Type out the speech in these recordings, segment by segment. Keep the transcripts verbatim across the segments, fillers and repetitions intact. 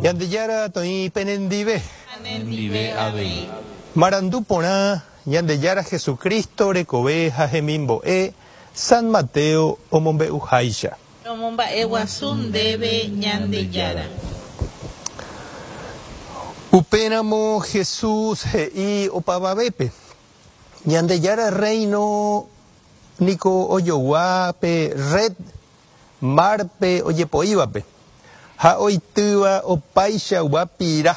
Ñandejára toĩ penendive. Nendive avei. Marandu porã Ñandejára Jesucristo rekove ha hemimbo'e San Mateo omombe'uháicha. Romomba'eguasu ndéve Ñandejára. Upéramo Jesús he'i opavavépe. Ñandejára reino niko ojogua pe red márpe ojepoívape ha oitýva opaichagua pira.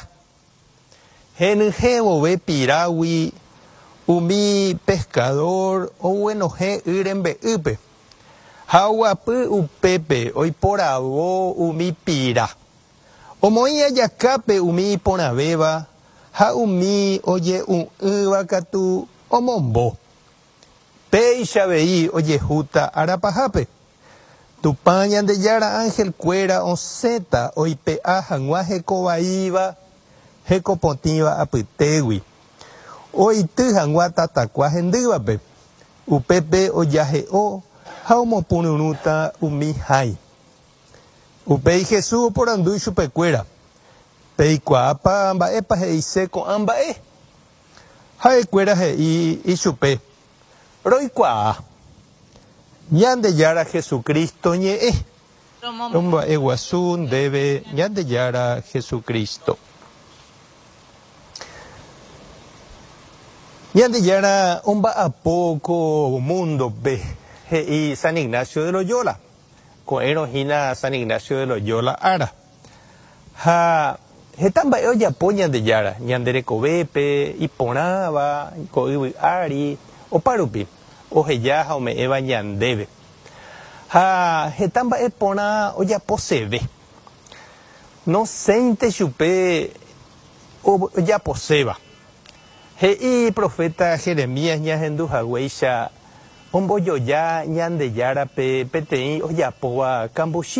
Henyhẽ vove pirágui umi pescador oguenohẽ y rembe'ýpe ha oguapy upépe oiporavo umi pira. Omoĩ ajakápe umi iporãvéva ha umi oje'u'ỹva katu omombo. Péicha avei ojehúta arapahápe. Tupã Ñandejára angelkuéra osẽta oipe'a hag̃ua hekovaíva hekopotĩva apytégui. Oity hag̃ua tatakua hendývape. Upépe ojahe'o ha omopururũta umi hãi. Upéi Jesús oporandu ichupekuéra. Peikuaápa mba'épa he'ise ko'ã mba'e. Ha'ekuéra he'i ichupe. Roikuaa. Ñandejára Jesucristo ñe'ẽ. Romomba'eguasu ndéve Ñandejára Jesucristo. Ñandejára omba'apo ko mundope he'i San Ignacio de Loyola. Ko'ẽrõ hína San Ignacio de Loyola ára. Ha heta mba'e ojapo Ñandejára, ñande rekovépe, iporãva, ko yvy ári, oparupi, oheja ha ome'ẽva ñandéve. Ha heta mba'e porã ojaposeve. Nosẽinte chupe ojaposéva. He'i profeta Jeremías ñahendu haguéicha ombojoja Ñandejárape peteĩ ojapóva kambuchi.